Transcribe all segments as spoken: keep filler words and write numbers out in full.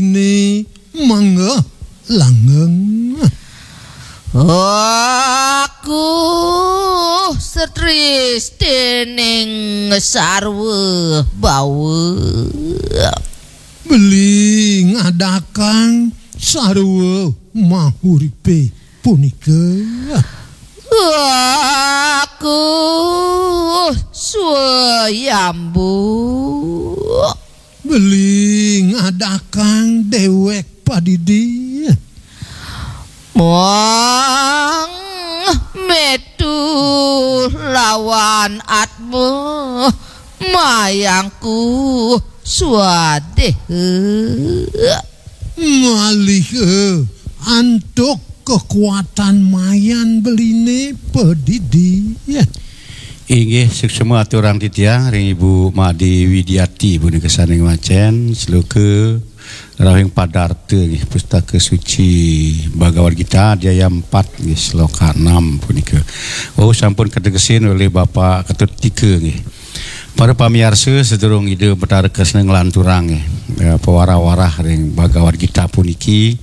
Ini mangga langgeng. Aku setris dening sarwa bawa. Beli ngadakang sarwa mahuripe punika. Aku swayambu. Beli ngadakang dewek padidi. Muang metu lawan atma mayangku swadeh. Malih antuk kekuatan mayan beline padidi. Inggih, suksma aturang titiang ring Ibu Made Widiati punika sane ngwacen sloka Rahing Padarta nggih, Pustaka Suci Bhagavad Gita, adhyaya empat nggih, sloka enam punika. Oh, sampun kategesin oleh Bapak Ketut Tika nggih. Para pamiarsa, sedurung Ida Betara Kresna nglanturang nggih, eh, pawarah-warah ring Bhagavad Gita puniki,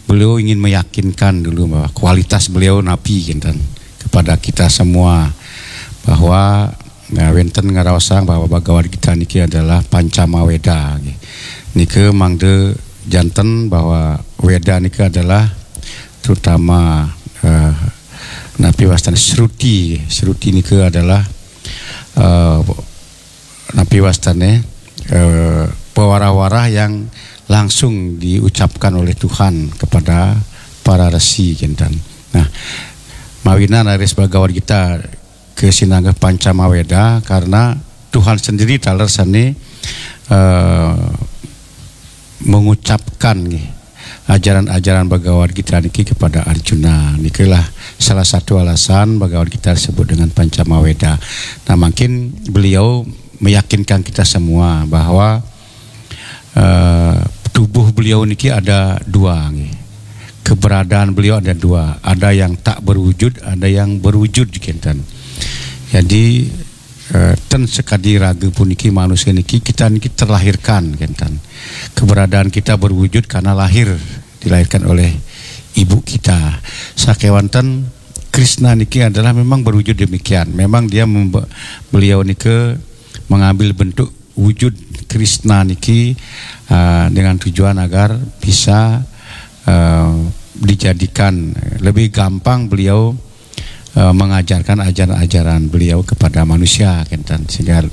beliau ingin meyakinkan dulu bahwa kualitas beliau napi kinten kepada kita semua, bahwa, ya, wenten ngraosang bahwa Bhagavad Gita niki adalah Pancama Weda nggih. Nika mangda janten bahwa Weda nika adalah terutama, eh, napi wastane Sruti. Sruti nika adalah, eh, napi wastane, eh, pewarah-warah yang langsung diucapkan oleh Tuhan kepada para resi kinten. Nah, mawinan raris Bhagavad Gita kasinanggeh Pancama Weda karena Tuhan sendiri taler sane, eh, mengucapkan nggih, ajaran-ajaran Bhagavad Gita niki kepada Arjuna. Nikalah salah satu alasan Bhagavad Gita disebut dengan Pancama Weda. Nah, mungkin beliau meyakinkan kita semua bahwa, eh, tubuh beliau niki ada dua nggih. Keberadaan beliau ada dua, ada yang tak berwujud, ada yang berwujud kinten. Jadi, eh, ten sekadi raga puniki, manusia niki, kita niki terlahirkan kinten. Keberadaan kita berwujud karena lahir, dilahirkan oleh ibu kita. Sakewanten Krishna niki adalah memang berwujud demikian. Memang dia membe-, beliau nike mengambil bentuk wujud Krishna niki, uh, dengan tujuan agar bisa, uh, dijadikan lebih gampang beliau, uh, mengajarkan ajaran-ajaran beliau kepada manusia kinten, sehingga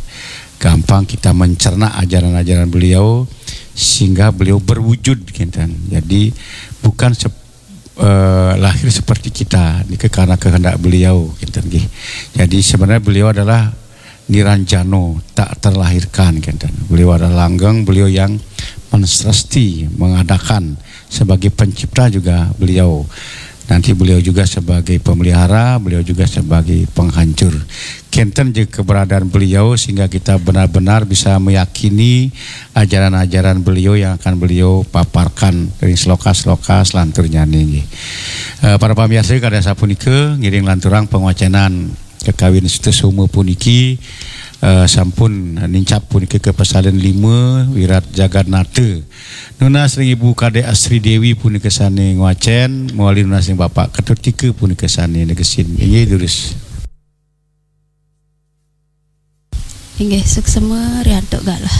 gampang kita mencerna ajaran-ajaran beliau, sehingga beliau berwujud kinten. Jadi bukan sep-, eh, lahir seperti kita, nika karena kehendak beliau kinten nggih. Jadi sebenarnya beliau adalah Niranjano, tak terlahirkan kinten. Beliau adalah langgeng, beliau yang mensresti, mengadakan, sebagai pencipta juga beliau. Nanti beliau juga sebagai pemelihara, beliau juga sebagai penghancur. Kinten je keberadaan beliau sehingga kita benar-benar bisa meyakini ajaran-ajaran beliau yang akan beliau paparkan ring sloka-sloka selanturnyane nggih. Eh, para pamiarsa, kadi sapunika ngiring lanturang pangwacenan kakawin Sutasoma puniki, eh, sampun nincap punika ka pasalin lima, Wirat Jagannatha. Nunas ring Ibu Kadek Asri Dewi punika sane ngwacen, mawali nunas ring Bapak Ketut Tika punika sane negesin. Inggih, durus. Inggih, suksma riantuk galah.